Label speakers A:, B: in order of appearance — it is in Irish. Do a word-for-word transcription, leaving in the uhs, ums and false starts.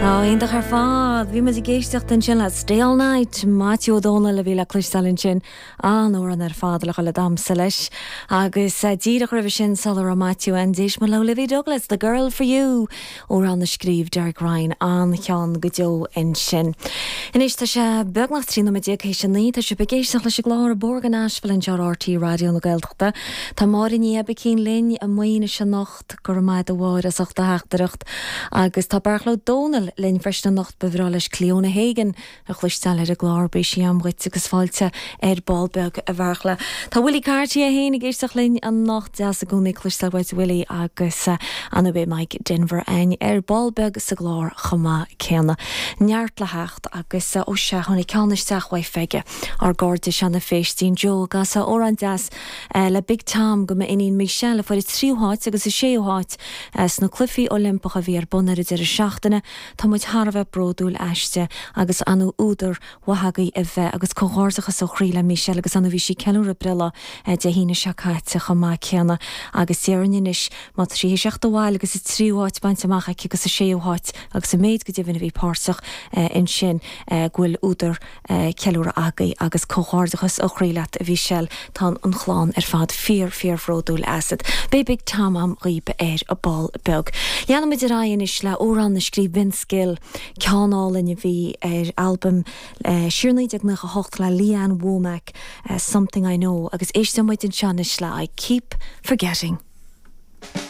A: Iontach ar fad, bhí muid ag éisteacht ansin le Stay All Night Maitiú Ó Dónaill a bhí le cloisteáil ansin an-amhrán ar fad le le damhsa leis agus eh, díreach roimhe sin sula raibh Maitiú ann d'éist muid le Olivia Douglas, The Girl for You amhrán a scríobh Derek Ryan an-cheann go deo ansin. Anois tá sé beagnach trí nóiméad déag théis a naoi tá sibh ag éisteacht leis an gclár Bóthar go Nashville anseo ar RTÉ Raidió na Gaeltachta. Tá Máire Ní Oibicín linn i Maínis anocht go raibh maith agat a Mháire as ucht do theachtaireacht agus tá Beartla Ó Domhnaill linn freisin anocht ba bhreá leis Cliona Hagan a chloisteáil ar an gclár beidh sí agam dhuit agus fáilte ar ball beag a Bheartla. Tá Willie Carty é féin ag éisteacht linn anocht deas i gcónaí cloisteáil uait Willie agus uh, anna bé Mike Denver ein ar ball beag sa gclár chomh maith céanna. Neart le theacht agus uh, ó se tháinig ceann isteach uaidh Pheige ár gcairde Seana Phéistín Joe gas amhrán deas uh, le Big Tom go m'iníon Michelle a fuair tríú háit agus a séú háit uh, sna cluichí Oilimpeacha a bhí ar bun ar an deireadh seachtaine Tá muid thar a bheith bródúil aisti agus an údar mhaith a bheith agus comhghairdeachas ó chroí le Michelle agus an bhí sí ceiliúradh breithlá Dé hAoine seo caite chomh maith céanna agus déarfainn má trí seachta bháil agus i tríú háit bainte amach aici agus a séú háit agus a méid go deimhin a bhí páirteach ansin go bhfuil údar ceiliúradh agaibh agus comhghairdeachas ó chroí leat a Mhichelle tá an chlann ar fad fíor fíorbhródúil asat. Beidh Big Tom agam dhaoibh ar a ball beag. Leanfaimid ar aghaidh anois le amhrán a scríobh Vince Gill ceann álainn a bhí ar albam uh, siar naoi déag nócha hocht le Lee Ann Womack uh, Something I Know agus éisteann muid anseo anois le I keep forgetting.